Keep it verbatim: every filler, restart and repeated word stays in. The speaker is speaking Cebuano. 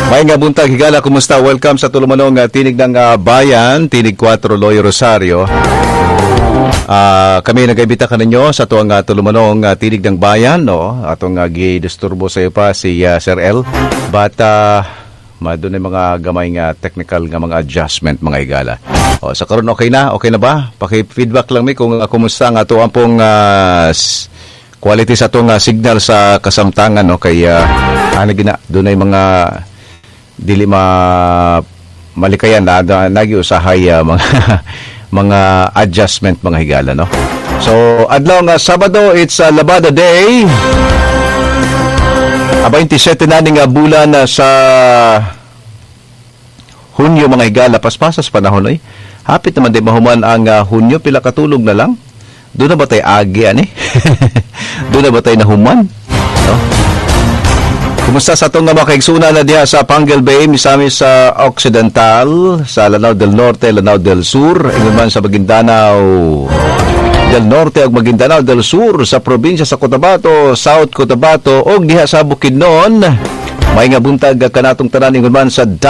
Maayong nga buntag, higala, kumusta? Welcome sa tulumanong uh, Tinig ng uh, Bayan, Tinig kwatro Loy Rosario. Ah, kami nag-imbita kaninyo sa atuang uh, tulumanong uh, Tinig ng Bayan, no? Atong uh, gidisturbo sa iyo pa si uh, Sir L. But uh, madun mga gamay nga technical nga mga adjustment, mga higala. O, sa karon okay na? Okay na ba? Paki-feedback lang mi kung uh, kumusta ang ato ang pong uh, s- quality sa atong uh, signal sa kasamtangan, no, kay uh, ano gina dunay mga dili ma malikayan na, na nagi usahay uh, mga mga adjustment, mga higala, no. So adlaw nga Sabado, it's uh, Labada Day. A twenty-seven na ning uh, bulan na sa Hunyo, mga higala. Paspasas panahon oy. Hapit naman di mahuman ang uh, Hunyo, pila katulog na lang. Doon na ba tayo agi ani? Doon na ba tayo nahuman? No? Kumusta sa atong mga kaigsunan na diha sa Panguil Bay, Misamis sa Occidental, sa Lanao del Norte, Lanao del Sur, ingon man sa Maguindanao del Norte ug Maguindanao del Sur, sa probinsya sa Cotabato, South Cotabato ug diha sa Bukidnon. Maayong buntag kanatong tanan, ingon man sa